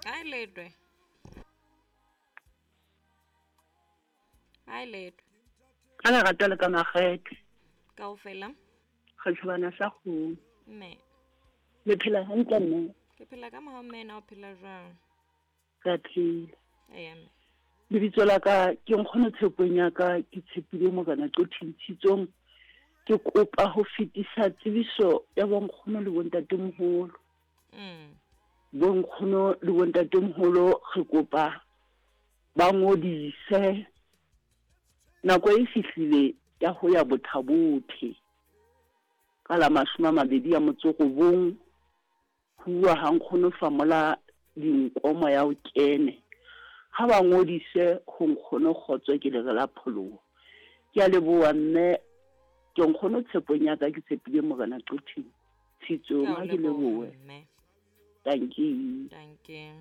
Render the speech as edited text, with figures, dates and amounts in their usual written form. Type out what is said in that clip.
Hi Letwe. Hi Letwe. Ka lerato le ka makgethe. Kaofela. Re tshobana sa kgomo. Mme. Le phela hantle mme? Ke phela ka mohau mme na o phela jwang? Re a phela. Eya mme. Lebitso la ka ke Nkgono Tshepong ya ka ke tshepile Morena Qothing Tshitsong. Ke kopa ho fetisa tsebiso ya bonkgono le bontatemoholo. Bonkgono le bontatemoholo re kopa ba ngodise. Nako e fihlile ya ho ya Bothabothe ka la 29. Huwa ha nkgono famola dinko moya o kene. Ha ba ngodise ho nkgono kgotso ke lere la pholoho. Ke a leboha mme ke nkgono tshepong ya ka ke tshepile Morena Qothing. Tshitsong Ka o ha ke leboha lebohe. mme. Dankie. Dankie.